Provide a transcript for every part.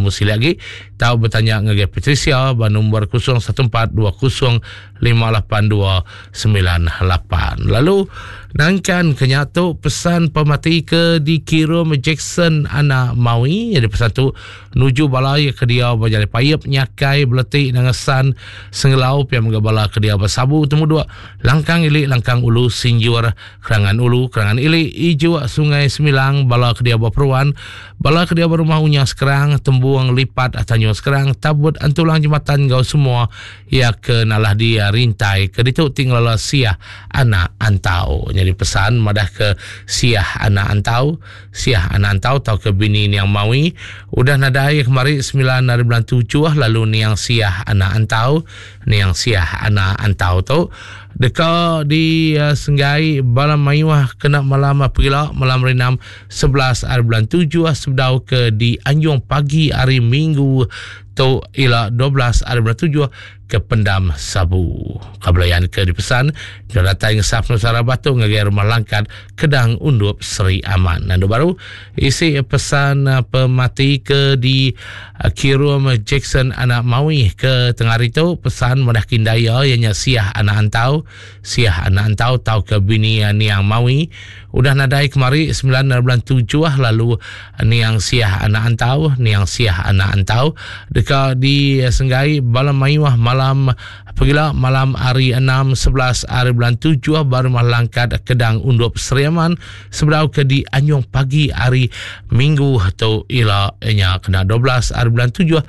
nemu silik agi tau betanya ngagai Patricia ba nombor 014 20 58298. Lalu nangkan ke nya tu pesan pemati ke dikirum Jackson anak Mawi jadi pesan tu nuju bala ya ke dia ba jalai payep nyakai beleti nangesan sengelau pia mega bala ke dia ba sabu temu dua langkang ili langkang ulu sinjur kerangan ulu kerangan ili ijuk sungai semilang bala ke dia ba peruan Bala ke diau ba rumah Unya Sekerang, Tembung, Lipat, Tanjung Sekerang, Tabut, Entulang Jematan enggau semua iya ke nalah di rintai ke ditu ti ngelala Siah Anak Antau. Nyadi pesan madah ke Siah Anak Antau, Siah Anak Antau tauka bini Niang Mawi udah nadai kemari semilan ari bulan tujuh lalu Niang Siah Anak Antau, Niang Siah Anak Antau tu deka disenggai bala mayuh kena malam pegila malam hari enam 11 hari bulan 7 sebedau ke dianjung pagi hari Minggu tu ila 12 hari bulan 7 ke Pendam Sabu. Kabelayan ke dipesan kena datai ngesap Nusara Batu ngagai Rumah Langkat Kedang Undup Seri Aman. Nandu baru isi pesan eh, pemati ke di eh, kirum Jackson anak Mawi ke tengah hari tu pesan madah kindaya ianya Siah anak Antau Siah anak Antau tau ke bini eh, Niang Mawi Udah nadai kemari semilan ari bulan tujuh lalu niang Siah anak Antau, niang Siah anak Antau deka disenggai bala mayuh malam pegila malam hari enam 11 ari bulan tujuh ba rumah Langkat Kedang Undup Sri Aman sebedau ke dianjung pagi hari Minggu tu ila nya kena 12 ari bulan tujuh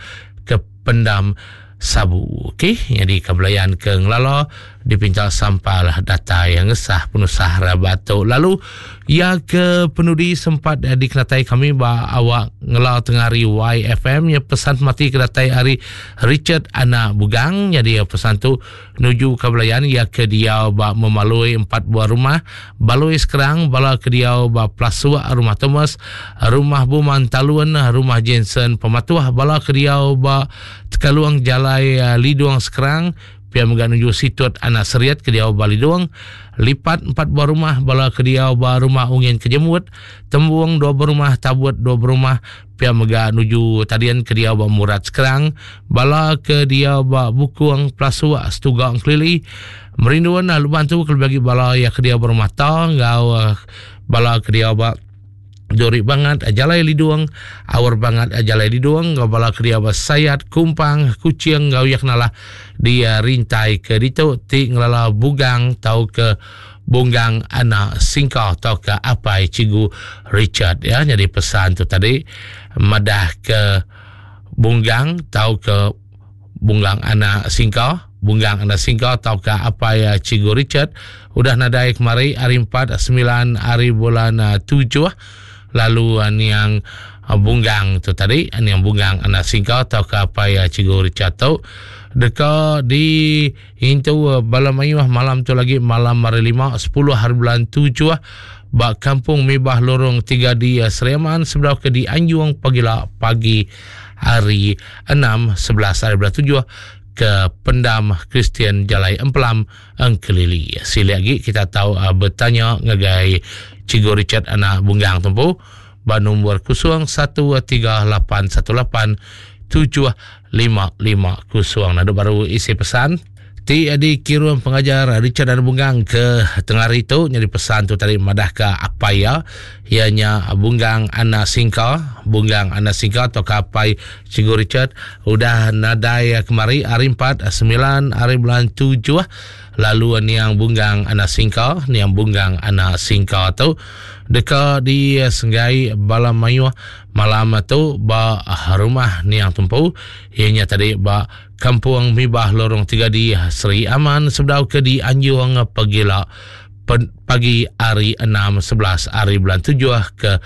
ke Pendam Sabu. Okey, nyadi ke belayan ke ngelala dipinta sampal datai ngesah penusah rabat tu. Lalu ya ke penudi sempat eh, dikenatai kami ba awak ngela tengah hari YFM ya pesan mati ke datai hari Richard Anak Bugang jadi ya, pesan tu nuju ke belayan ya ke dia ba memalui empat buah rumah balui sekarang bala ke dia ba Plasuk rumah Thomas rumah Buman Talun rumah Jensen Pematuh bala ke dia ba Tekalung jalai Lidung Sekerang, pia mega nuju Situt Anak Seriat ke diau ba Lidung, Lipat empat buah rumah bala ke diau ba Rumah Ungin Kejemut, Tembung dua buah rumah, Tabut dua buah rumah, pia mega nuju Tadian ke diau ba Murat Sekerang, bala ke diau ba Bukung Pelasuk Setuga Engkelili, Merindun Luban tu kelebih agi bala iya ke diau ba Rumah Ta enggau bala ke diau ba Duri bangat jalai lidung, aur bangat jalai lidung enggau bala ke diau ba Sayat, Kumpang, Kuching enggau iya kenalah di rintai ke ditu ti ngelala Bugang tauka Bunggang anak Singka tauka apai Cikgu Richard ya nyadi pesan tu tadi madah ke Bunggang tauka Bunggang anak Singka, Bunggang anak Singka tauka apai eh, Cikgu Richard udah nadai kemari hari 4 9 hari bulan 7 eh, lalu eh, niang Bunggang tu tadi niang Bunggang anak Singka tauka apai Cikgu Richard tu deka di intu bala mayuh malam tu lagi malam hari 5 10 hari bulan 7 ba Kampung Mibah Lorong 3 di Sri Aman sebedau ke di Anjung pagila pagi hari 6 11 hari bulan 7 ke Pendam Kristian Jalai Empelam Engkelili. Silik lagi kita tahu uh, bertanya ngagai Cikgu Richard anak Bunggang tumpu ba nombor 013818 7550. Nadu baru isi pesan. Ti dikirum pengajar Richard dan Bunggang ke tengah hari tu nyadi pesan tu tadi madah ke apai iya iya nya Bunggang Anak Singka Bunggang Anak Singka atau ke apai Cikgu Richard udah nadai kemari hari 4 9 hari bulan 7 lalu niang Bunggang Anak Singka niang Bunggang Anak Singka tu deka disenggai bala mayuh malam tu ba rumah niang tumpu iya nya tadi ba Kampung Mibah Lorong 3 di Seri Aman sebedau ke dianjung pegila pagi hari 6 11 hari bulan 7 ke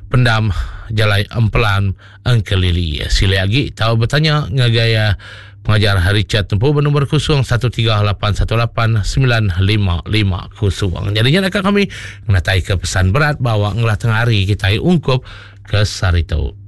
pendam Jalai Empelan Engkelili. Sila lagi tahu bertanya ngagai eh, pengajar Richard Tempu bernombor 0138189550. Jadinya nak kami menatai ke pesan berat bawa ngelah tengah hari kita ungkup ke sehari tu.